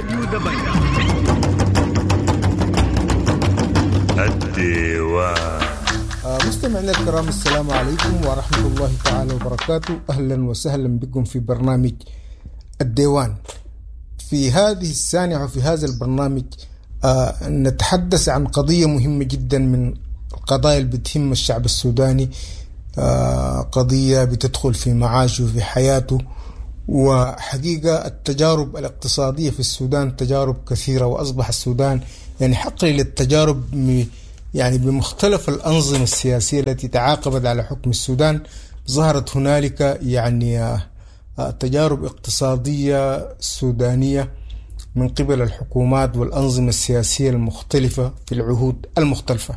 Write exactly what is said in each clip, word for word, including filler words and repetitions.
راديو دبنجة. الديوان. مستمعينا الكرام، السلام عليكم ورحمة الله تعالى وبركاته. أهلا وسهلا بكم في برنامج الديوان. في هذه السانحة وفي هذا البرنامج آه نتحدث عن قضية مهمة جدا من القضايا اللي بتهم الشعب السوداني، آه قضية بتدخل في معاشه وفي حياته. وحقيقة التجارب الاقتصادية في السودان تجارب كثيرة، وأصبح السودان يعني حقل للتجارب يعني بمختلف الأنظمة السياسية التي تعاقبت على حكم السودان. ظهرت هنالك يعني تجارب اقتصادية سودانية من قبل الحكومات والأنظمة السياسية المختلفة في العهود المختلفة.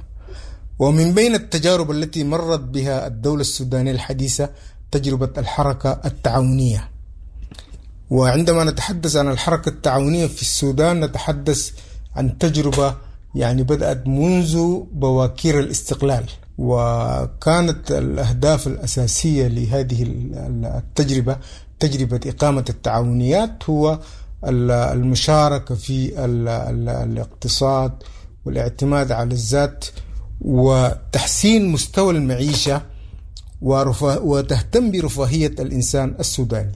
ومن بين التجارب التي مرت بها الدولة السودانية الحديثة تجربة الحركة التعاونية. وعندما نتحدث عن الحركة التعاونية في السودان نتحدث عن تجربة يعني بدأت منذ بواكير الاستقلال، وكانت الأهداف الأساسية لهذه التجربة تجربة إقامة التعاونيات هو المشاركة في الاقتصاد والاعتماد على الذات وتحسين مستوى المعيشة وتهتم برفاهية الإنسان السوداني.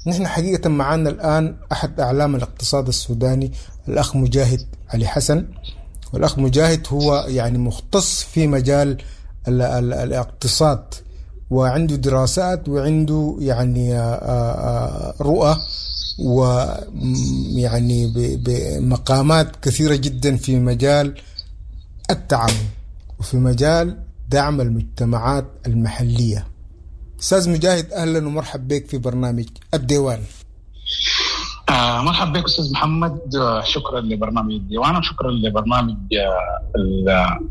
نحن حقيقة معنا الآن أحد أعلام الاقتصاد السوداني الأخ مجاهد علي حسن، والأخ مجاهد هو يعني مختص في مجال ال ال الاقتصاد، وعنده دراسات وعنده يعني رؤى ويعني بمقامات كثيرة جدا في مجال التعاون وفي مجال دعم المجتمعات المحلية. أستاذ مجاهد، أهلا ومرحب بك في برنامج الديوان. آه مرحب بك أستاذ محمد، شكرا لبرنامج الديوان وشكرا لبرنامج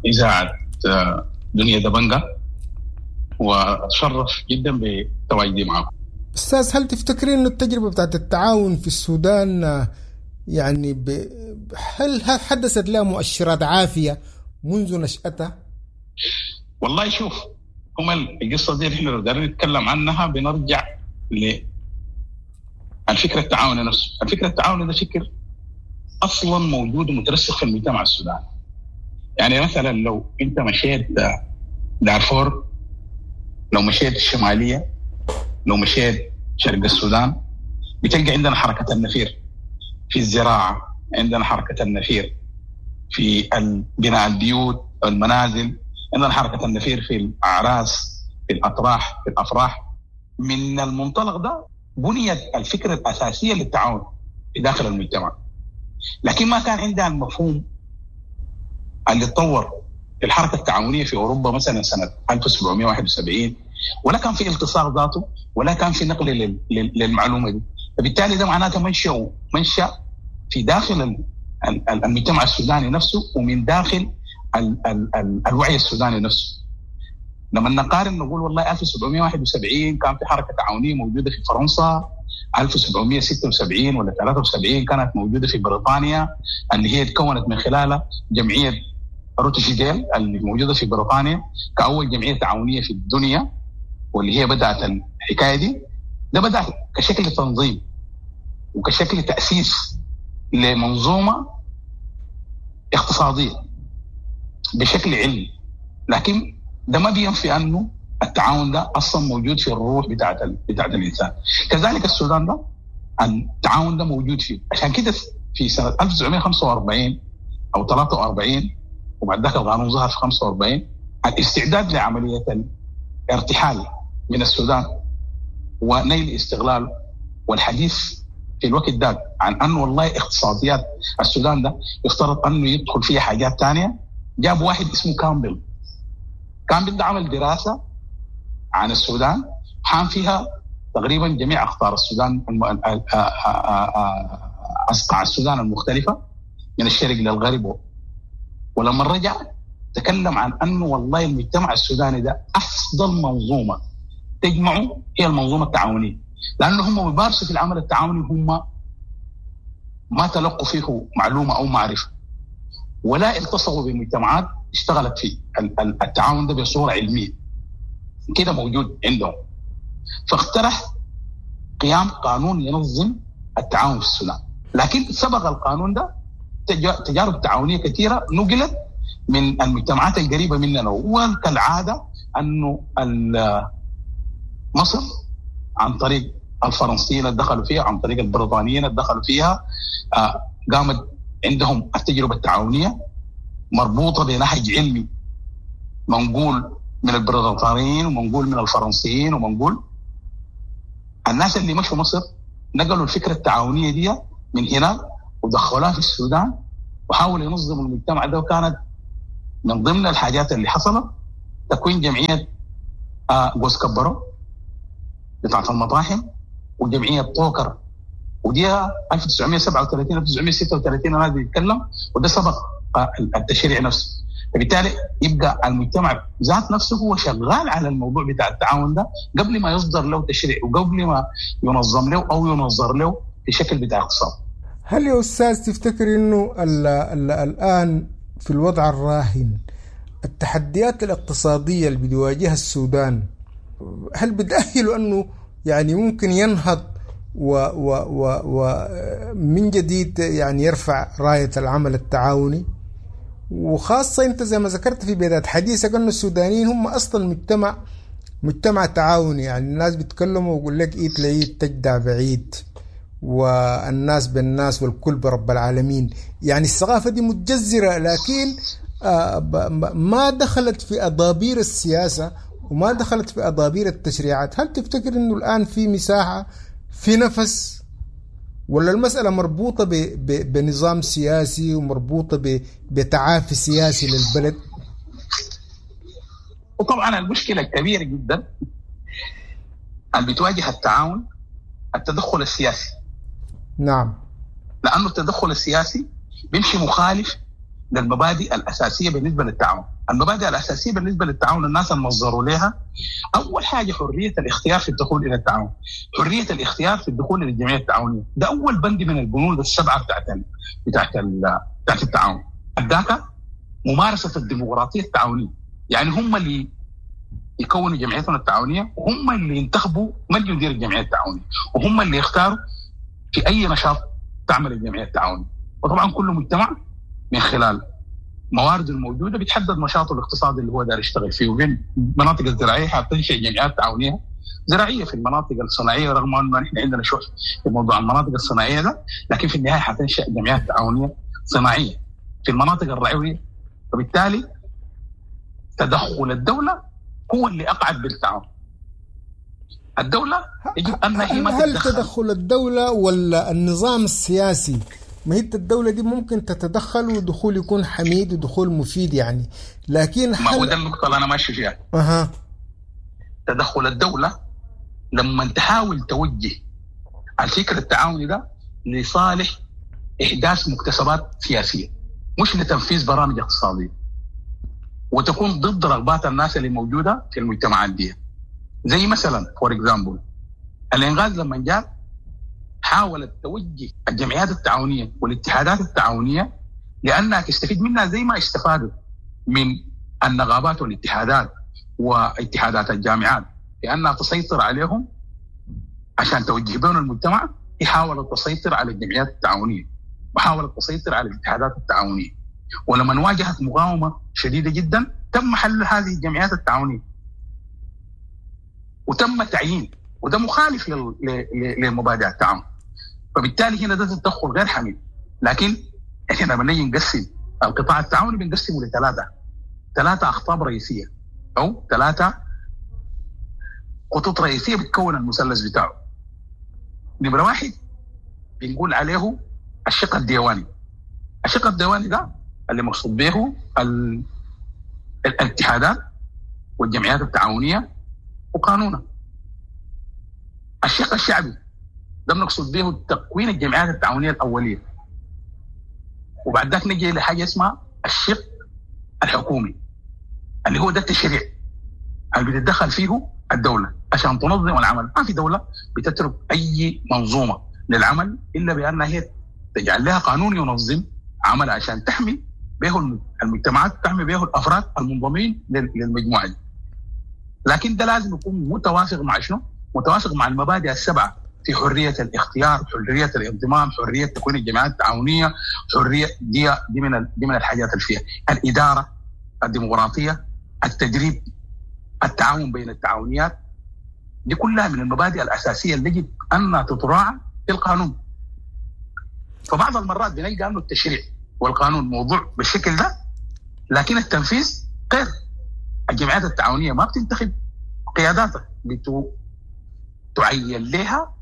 إذاعة دنيا دبنجة، وأتشرف جدا بتواجدي معكم. أستاذ، هل تفتكرين أن التجربة بتاعت التعاون في السودان يعني ب... هل حدثت لها مؤشرات عافية منذ نشأتها؟ والله شوف، هم القصة دي نحن لو دارين نتكلم عنها بنرجع ل الفكرة التعاوني نفسه. الفكرة التعاوني ده فكر أصلا موجود ومترسخ في المجتمع السوداني. يعني مثلا لو أنت مشيت دارفور، لو مشيت الشمالية، لو مشيت شرق السودان، بتلقى عندنا حركة النفير في الزراعة، عندنا حركة النفير في بناء البيوت المنازل، عندنا حركة النفير في الأعراس، في الأطراح، في الأفراح. من المنطلق ده بنيت الفكرة الأساسية للتعاون في داخل المجتمع، لكن ما كان عندها المفهوم اللي تطور في الحركة التعاونية في أوروبا مثلا سنة ألف وسبعمائة وواحد وسبعين، ولا كان في التصاق ذاته، ولا كان في نقل للمعلومة دي. فبالتالي ده معناته منشأ منشأ في داخل المجتمع السوداني نفسه ومن داخل ال ال ال الوعي السوداني نفسه. لما نقارن نقول والله ألف وسبعمائة وواحد وسبعين كان في حركة تعاونية موجودة في فرنسا، ألف وسبعمائة وستة وسبعين ولا ثلاثة وسبعين كانت موجودة في بريطانيا اللي هي تكونت من خلالها جمعية روتشديل اللي موجودة في بريطانيا كأول جمعية تعاونية في الدنيا، واللي هي بدأت الحكاية دي. ده بدأ كشكل تنظيم وكشكل تأسيس لمنظومة اقتصادية بشكل علمي، لكن ده ما بينفي انه التعاون ده اصلا موجود في الروح بتاعت بتاعت الانسان. كذلك السودان ده التعاون ده موجود فيه. عشان كده في سنة ألف وتسعمائة وخمسة وأربعين او ثلاثة وأربعين، وبعد ذاك القانون ظهر في خمسة وأربعين، الاستعداد لعملية الارتحال من السودان ونيل استغلاله، والحديث في الوقت ده عن انه والله اقتصاديات السودان ده يفترض انه يدخل فيها حاجات ثانية، جاب واحد اسمه كامبل. كامبل ده عمل دراسة عن السودان حام فيها تقريبا جميع أقطار السودان، أصقاع السودان المختلفة من الشرق للغرب. ولما رجع تكلم عن أنه والله المجتمع السوداني ده أفضل منظومة تجمعه هي المنظومة التعاونية، لأنه هم بيمارسوا في العمل التعاوني هم ما تلقوا فيه معلومة أو معرفة، ولا التصقوا بمجتمعات اشتغلت في التعاون ده بصورة علمية كده موجود عندهم. فاقترح قيام قانون ينظم التعاون في السودان. لكن سبق القانون ده تجارب تعاونية كثيرة نقلت من المجتمعات القريبة مننا، وكالعادة انه مصر عن طريق الفرنسيين اللي دخلوا فيها، عن طريق البريطانيين اللي دخلوا فيها، قامت عندهم التجربة التعاونية مربوطة بنهج علمي منقول من البريطانيين ومنقول من الفرنسيين ومنقول. الناس اللي مشوا مصر نقلوا الفكرة التعاونية دي من هناك ودخلوها في السودان وحاولوا ينظموا المجتمع ده. وكانت من ضمن الحاجات اللي حصلت تكوين جمعية جوز كبرو بتاعت المطاحن وجمعية طوكر، ودي ألف وتسعمية وسبعة وثلاثين ألف وتسعمية وستة وثلاثين انا بيتكلم، وده سبق التشريع نفسه. فبالتالي يبقى المجتمع ذات نفسه هو شغال على الموضوع بتاع التعاون ده قبل ما يصدر له تشريع وقبل ما ينظم له او ينظر له في شكل بتاع اقتصاد. هل يا استاذ تفتكر انه ال ال الان في الوضع الراهن التحديات الاقتصادية اللي بيواجهها السودان هل بتأهله انه يعني ممكن ينهض و و و و من جديد يعني يرفع راية العمل التعاوني؟ وخاصة أنت زي ما ذكرت في بداية حديثك أن السودانيين هم أصلا مجتمع مجتمع تعاوني، يعني الناس بيتكلموا ويقول لك إيد لإيد تجدع بعيد، والناس بالناس والكل برب العالمين. يعني الثقافة دي متجذرة، لكن ما دخلت في أضابير السياسة وما دخلت في أضابير التشريعات. هل تفتكر أنه الآن في مساحة، في نفس، ولا المسألة مربوطة ب ب بنظام سياسي ومربوطة ب بتعافي سياسي للبلد؟ وطبعا المشكلة الكبيرة جدا اللي بتواجه التعاون التدخل السياسي. نعم، لأنه التدخل السياسي بيمشي مخالف للمبادئ الأساسية بالنسبة للتعاون. المبادئ الأساسية بالنسبة للتعاون الناس المنظروا لها أول حاجة حرية الاختيار في الدخول إلى التعاون، حرية الاختيار في الدخول إلى الجمعية التعاونية. ده أول بند من البنود السبعة بتاعت بتاعت بتاعت التعاون. الداتا ممارسة الديمقراطية التعاونية، يعني هم اللي يكونوا جمعيتهم التعاونية وهم اللي ينتخبوا من يدير الجمعية التعاونية وهم اللي يختاروا في أي نشاط تعمل الجمعية التعاونية. وطبعا كل مجتمع من خلال موارده الموجودة بيتحدد نشاطه الاقتصادي اللي هو داير يشتغل فيه. وبين المناطق الزراعية حتنشئ جمعيات تعاونية زراعية، في المناطق الصناعية رغم انه نحن عندنا شح في موضوع المناطق الصناعية ده، لكن في النهاية حتنشئ جمعيات تعاونية صناعية في المناطق الرعويه. فبالتالي تدخل الدولة هو اللي اقعد بالتعاون. الدولة يجب ان هي ما هل تدخل الدولة ولا النظام السياسي؟ ما هي الدولة دي ممكن تتدخل ودخول يكون حميد ودخول مفيد يعني، لكن ما هو ده النقطة اللي أنا ماشي فيها. أها. تدخل الدولة لما تحاول توجه الفكر التعاوني ده لصالح إحداث مكتسبات سياسية مش لتنفيذ برامج اقتصادية، وتكون ضد رغبات الناس اللي موجودة في المجتمعات دي. زي مثلا for example الإنغاز لما جاء حاولت توجه الجمعيات التعاونية والاتحادات التعاونية لأنها تستفيد منها زي ما استفادوا من النقابات والاتحادات واتحادات الجامعات، لأنها تسيطر عليهم عشان توجه بهم المجتمع. هي حاولت تسيطر على الجمعيات التعاونية وحاولت تسيطر على الاتحادات التعاونية، ولما واجهت مقاومة شديدة جدا تم حل هذه الجمعيات التعاونية وتم تعيين، وده مخالف لمبادئ التعاون. فبالتالي هنا ده تدخل غير حميد. لكن احنا لما نيجي نقسم القطاع التعاوني بنقسمه لثلاثة ثلاثة اخطاب رئيسية او ثلاثة خطوط رئيسية بتكون المثلث بتاعه. نمره واحد بنقول عليه الشق الديواني. الشق الديواني ده اللي مقصود به ال... الاتحادات والجمعيات التعاونية وقانونها. الشق الشعبي ده بنقصد به تكوين الجمعيات التعاونية الاولية. وبعد ذاك نجي لحاجة اسمها الشق الحكومي اللي هو ده التشريع اللي بتتدخل فيه الدولة عشان تنظم العمل. ما في دولة بتترك اي منظومة للعمل الا بانها هي تجعل لها قانون ينظم عملها عشان تحمي به المجتمعات، تحمي به الافراد المنضمين للمجموعة دي. لكن ده لازم يكون متوافق مع شنو؟ متوافق مع المبادئ السبعة في حرية الاختيار، حرية الانضمام، حرية تكوين الجمعيات التعاونية، حرية دي دي من دي من الحاجات اللي فيها الادارة الديمقراطية، التدريب، التعاون بين التعاونيات، دي كلها من المبادئ الاساسية اللي يجب ان تتراعى في القانون. فبعض المرات بنلقى انه التشريع والقانون موضوع بالشكل ده، لكن التنفيذ غير. الجمعيات التعاونية ما بتنتخب قياداتها، تعين لها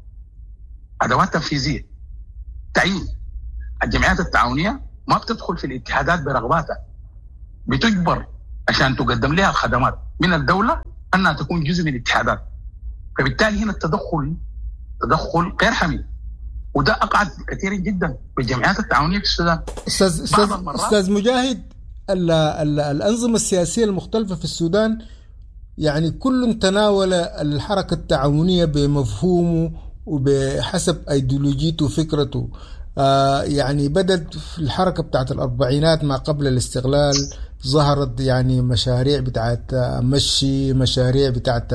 ادوات تنفيذية. تعيين الجمعيات التعاونية ما بتدخل في الاتحادات برغباتها، بتجبر عشان تقدم لها الخدمات من الدولة انها تكون جزء من الاتحادات. فبالتالي هنا التدخل تدخل غير حميد، وده اقعد كثير جدا بالجمعيات التعاونية في السودان. استاذ استاذ استاذ مجاهد، ال ال الانظمة السياسية المختلفة في السودان يعني كل تناول الحركة التعاونية بمفهومه وبحسب ايديولوجيته وفكرته. آه يعني بدأت في الحركة بتاعت الأربعينات ما قبل الاستقلال، ظهرت يعني مشاريع بتاعت مشي، مشاريع بتاعت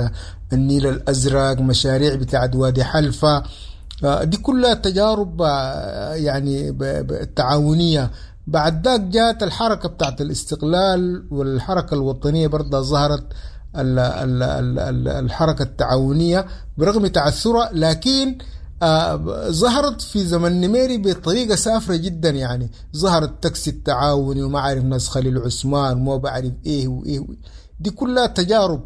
النيل الأزرق، مشاريع بتاعت وادي حلفة، آه دي كلها تجارب آه يعني تعاونية. بعد ذاك جاءت الحركة بتاعت الاستقلال والحركة الوطنية برضه ظهرت ال ال ال الحركة التعاونية برغم تعثرها، لكن آه ظهرت في زمن نميري بطريقة سافرة جدا. يعني ظهر التاكسي التعاوني وما عارف ناس خليل عثمان وما بعرف ايه وايه، دي كلها تجارب.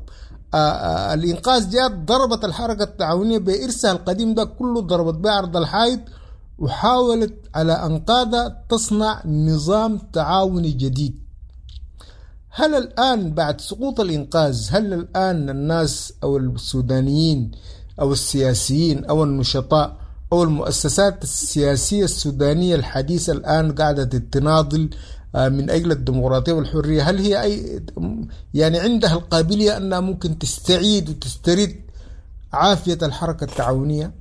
آه آه الإنقاذ جاءت ضربت الحركة التعاونية بإرثها القديم ده كله، ضربت به عرض الحائط وحاولت على أنقاضها تصنع نظام تعاوني جديد. هل الآن بعد سقوط الإنقاذ، هل الآن الناس أو السودانيين أو السياسيين أو النشطاء أو المؤسسات السياسية السودانية الحديثة الآن قاعدة تناضل من أجل الديمقراطية والحرية، هل هي أي يعني عندها القابلية أنها ممكن تستعيد وتسترد عافية الحركة التعاونية؟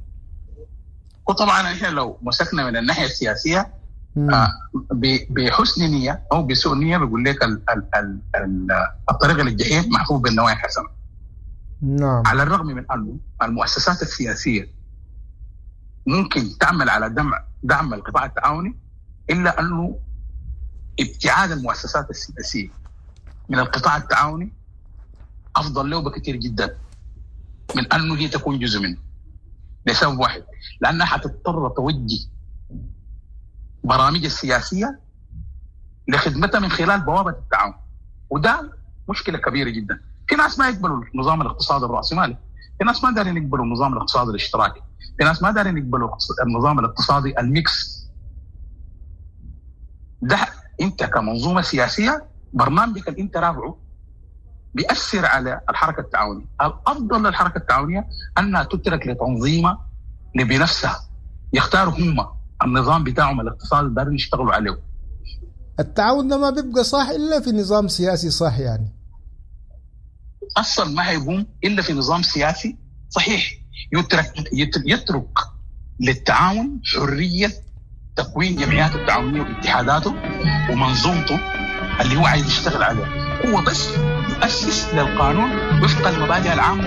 وطبعا احنا لو مسكنا من الناحية السياسية آه بحسن نيه او بسوء نيه بيقول لك ال ال ال ال الطريق للجحيم محفوف بالنوايا الحسنة. نعم. على الرغم من انه المؤسسات السياسية ممكن تعمل على دعم دعم القطاع التعاوني، الا انه ابتعاد المؤسسات السياسية من القطاع التعاوني افضل له بكثير جدا من انه هي تكون جزء منه، لسبب واحد، لانها حتضطر توجه برامج السياسية لخدمتها من خلال بوابه التعاون، وده مشكلة كبيرة جدا. في ناس ما يقبلوا النظام الاقتصادي الراسمالي، في ناس ما دارين يقبلوا النظام الاقتصادي الاشتراكي، في ناس ما دارين يقبلوا النظام الاقتصادي ال mix. ده انت كمنظومة سياسية برنامجك اللي انت رافعه بيأثر على الحركة التعاونية. الافضل للحركة التعاونية انها تترك لتنظيمها بنفسها، يختاروا هم النظام بتاعهم الاقتصادي اللي دارين يشتغلوا عليه. التعاون ده ما بيبقى صح الا في نظام سياسي صح، يعني اصلا ما هيقوم الا في نظام سياسي صحيح يترك يترك للتعاون حرية تكوين جمعياته التعاونية واتحاداته ومنظومته اللي هو عايز يشتغل عليها، هو بس يؤسس للقانون وفق المبادئ العامة.